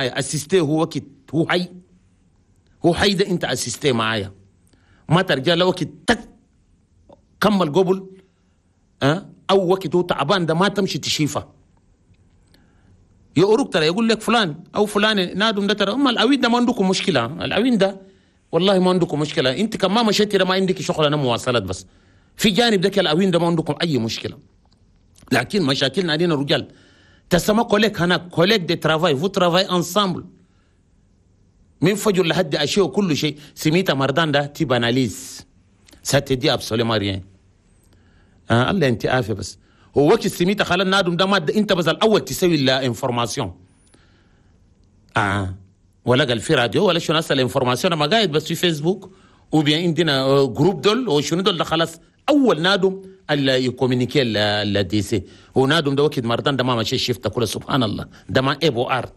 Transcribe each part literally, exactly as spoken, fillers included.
assister هو وقت هو حي، هو حي ده انت assister معايا، ما ترجع له وقت تك كمل قبل أه؟ او وقت هو تعبان ده ما تمشي تشيفه. يقولك ترى يقول لك فلان او فلان نادم ده ترى اما العوين ده ما عندكم مشكلة، العوين ده والله ما عندكم مشكلة، انت كمان ما مشيتي ما عندك شغل انا مواصلات، بس في جانب ده العوين ده ما عندكم اي مشكلة. لكن مشاكلنا علينا الرجال تسمى collègue هناك collègue de travail، vous travaillez ensemble من فجر لحد عشية وكل شيء. سميتا مردان ده tu banalises، ça te dit absolument rien. آه الله انت عافية بس هو وقت سميتا خلال نادم ده ما انت بس الاول تسوي l'information اه ولا قال في راديو ولا شنو هسه l'information ما قاعد بس في فيسبوك ou bien عندنا groupe دول وشنو دول ده خلاص اول نادم اللي ي communiquer le décès هو نادم ده وقت مردان ده ما مشي شفت كله سبحان الله ده ما عيب وعار،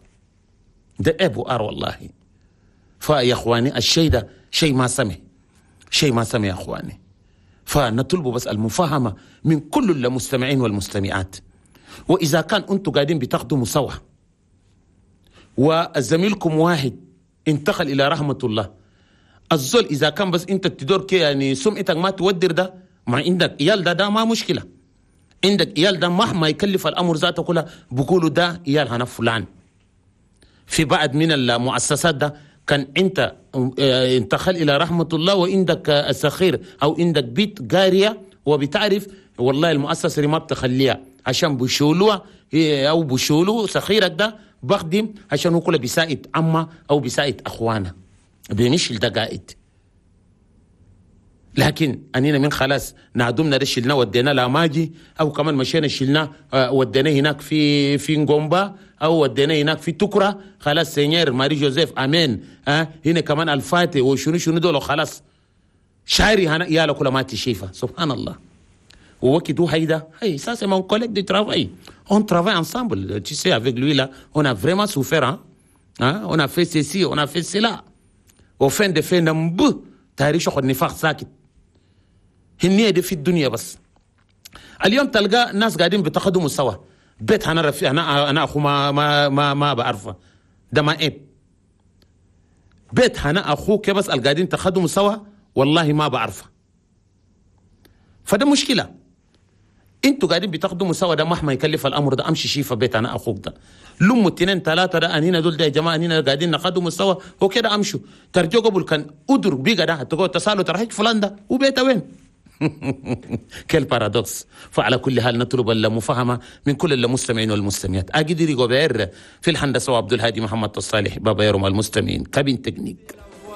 ده عيب وعار والله. فيا اخواني الشيء ده شيء ما سمح، شيء ما سمح يا اخواني. فنطلب بس المفاهمة من كل المستمعين والمستمعات. وإذا كان أنتم قاعدين بتخدموا سوا وزميلكم واحد انتقل إلى رحمة الله، الزول إذا كان بس أنت تدور كي يعني سمعتك ما تودر ده، ما عندك عيال ده ده ما مشكلة، عندك عيال ده مهما يكلف الأمر ذاته كلها بقولوا ده عيال هنا فلان. في بعض من المؤسسات ده كان انت انتقل الى رحمه الله وعندك سخير او عندك بيت قارية وبتعرف والله المؤسسة دي ما بتخليها عشان بشولوها او بشولو سخيرك ده بخدم عشان هو كله بيساعد عمه او بيساعد اخوانه بيمشي ده قائد. لكن انينا من خلاص نعدمنا ده شلنا ودينا لاماجي او كمان مشينا شلنا ودينا هناك في في نغومبا او ودينا هناك في تكرا، خلاص Seigneur ماري جوزيف امين ها هنا كمان الفاتي وشنو شنو دول خلاص شاري هنا يا كل ما تشيفه سبحان الله. ووقت هيدا hey ça c'est mon collègue de travail, on travaille ensemble, tu sais, avec lui là on a vraiment souffert hein, hein on a fait ceci, on a fait cela, au fin de fin نمب تاريخ شغل نفاق ساكت هنية دي في الدنيا. بس اليوم تلقى ناس قاعدين بتخدموا سوا بيت انا رفيق انا انا اخو ما ما ما, ما بعرفه ده ما عيب، بيت انا اخوك بس القاعدين تخدموا سوا والله ما بعرفه، فده مشكلة. انتوا قاعدين بتخدموا سوا ده مهما يكلف الامر ده امشي شيفة بيت انا اخوك ده لموا اتنين ثلاثة ده انينا دول ده يا جماعة انينا قاعدين نخدموا سوا هو كده امشوا ترجوا قبل كان ادر بيقى ده تقعد تسالوا ترى فلان ده وبيته وين؟ quel paradoxe. فعلى كل حال نطلب المفاهمة من كل المستمعين والمستمعات. أجدري غوبير في الهندسة وعبد الهادي محمد الصالح بابا يرم المستمعين cabine technique.